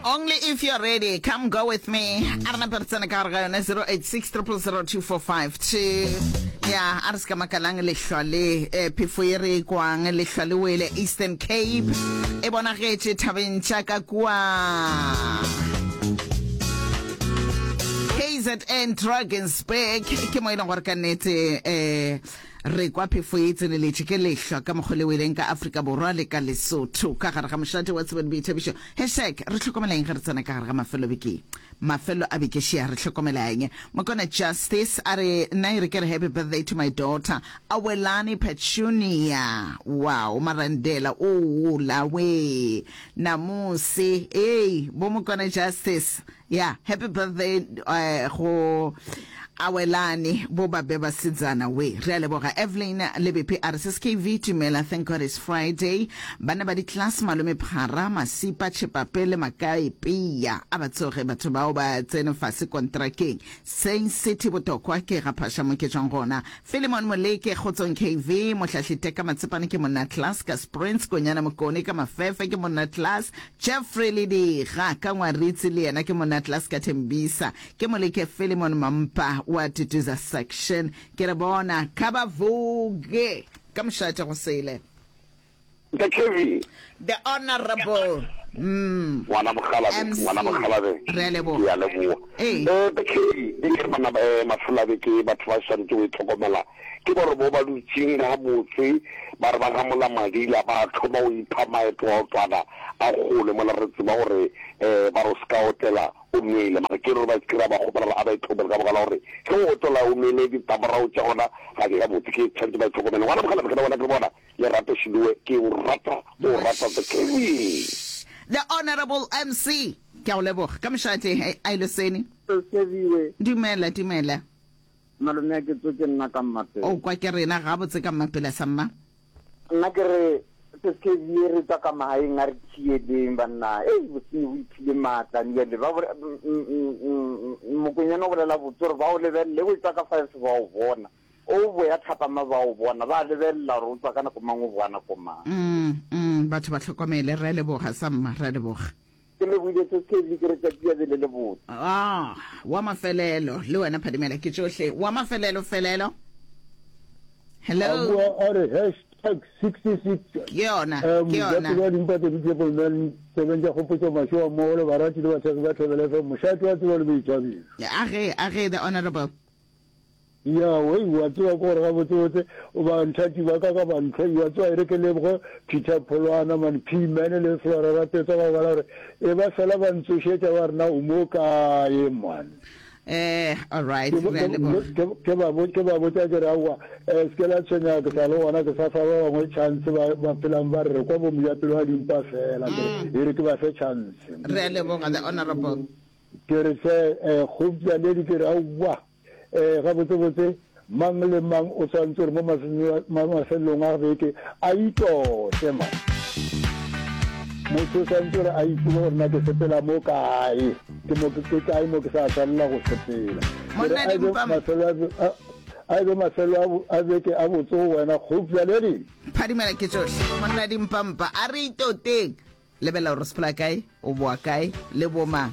Only if you're ready. Come go with me. A re nape re tsene ka gare ga yone 086 0002452. Ya, a re se ka makalang lehlwa le eh, phefo ye re e kwang lehlwa le wele Eastern Cape e bonagetše thabeng tša ka kua KZN Drakensberg ke mo e leng gore ka nnete eh Re kwa phefo ye e tseneletše ke lehlwa ka mokgwa le weleng ka Afrika Borwa le ka Lesotho ka gare ga mošate wa tsebo le boithabišo. Hashtag re hlokomela eng ge re tsena ka gare ga mafelo beke? Mafelo a beke šea re hlokomela eng? Mokona Justice a re nna e re ke re happy birthday to my daughter Awelani Petunia. Wow, Marandela o la we Namusi. Hey, bo Mokona Justice. Ya, happy birthday eh, go Awelani bo ba be basetsana we. Re a leboga. Evelyn Lebepe a re sis KV Tumela, thank God it's Friday. Banna ba di-class Malome Phara, Masipa, Chepape le Makae Pea a ba tsoge batho bao ba tsene fase kontrakeng. Saint City Botokwa ke ga Phasha mo ke tšwang gona. Philemon Moleke, Kgotsong KV, Mohlahli Teka Matsepane ke monna class ka Sprints, Konyana Mokone ka Mafefe ke monna class, Jeffrey Lediga ka Ngwaritsi le yena ke monna class ka Thembisa. Ke Moleke Philemon Mampa wa Tutuza Section. Ke re bona kha ba vuge ka mošate go sele. Ntate Kevin. The Honourable mm. Ngwana Mokgalabe, MC. ngwana Mokgalabe. Re a leboga. Ke a leboga. Ee. Eh, Ntate Kevin, ke ke re bana ba eh, mafelo a beke batho ba swanetše go itlhokomela. Ke gore bo ba dutšeng gabotse ba re ba gamola madila ba thoma go ipha maeto a otwana a kgole mola re tseba gore eh ba re o se ka otela o nwele mara ke re ba kry-a ba kgopela gore a ba itlhokomele ka baka la gore ge o otela o nwele ditlamorago tša gona ga di gabotse ke tshwanetse ba itlhokomele. Ngwana Mokgalabe ke na bona ke re bona Lerato Shiloe ke o rata o rata the King. The Honourable MC. Ke a go leboga. Ka mošate, Ailoseni. Sebiwe. Dumela, dumela. Malome a ke tso ke nna ka Mmapela. O kwa ke rena gabotse ka Mmapela sa mma. Nna ke re Seskevie re tswa ka magaeng a re thieleng banna. Ei bosenyi bo iphile maatla bjale ba Mokwenyana o bolela botse gore ba o lebelele o tswa ka five ba o bona. O boya thapama ba o bona, ba lebelela gore o tswa ka nako mang o boa nako mang. Mm, mm, batho ba hlokomele. Re a leboga, Samma, re a leboga. Ke lebohile se Kelly, ke re tšatši ya be le le botse. Ah, wa mafelelo, le wena Phadimela, ke tšohle. Wa mafelelo, felelo. A Hello. bua a re hashtag 66 Ke yona, Eh, ke yona. mojapelo wa dimpa tse di Triple Man tsebeng tša kgopotšo mašoa mmogo le barati le bathekgi ba Thobela FM mošate wa tsebo le boithabišo. A ge, a ge, the honorable. Ya, wei, wa tseba ke gore gabotsebotse banthati ba ka ka bantlhoi, wa tseba e re ke leboge Peter Pholwana man, P-Man le Flora Rapetsa ka baka la gore e ba fela ba ntsošetša ba re na o mo kae man. Eh, all right, Ke re a leboga. ke ke ba ke ba botša ke re aowa eh, se ke la tshwenyega ke sa le gona ke sa fa ba bangwe chance ba ba phelang ba re re kwa bo mojapelo wa dimpa fela ke re e re ke ba fe chance. Re a leboga, the honorable. Ke re hle eh, kgopša ledi ke re aowa Ee, gabotsebotse, mang le mang o swanetše gore mo mafelelong a beke a itote. Man. Motho o swanetše gore a itsebe gore na ke sepela mo kae, ke mo ke kae mo ke sa swanela go sepela. Ke re Monna a e be Dimpam. mafelo a, a e be mafelo a beke a botse go wena, kgopša le ding. Phadimela ke tšohle. Monna Dimpampa, a re itoteng. Lebelela gore o sepela kae, o boa kae, le bomang.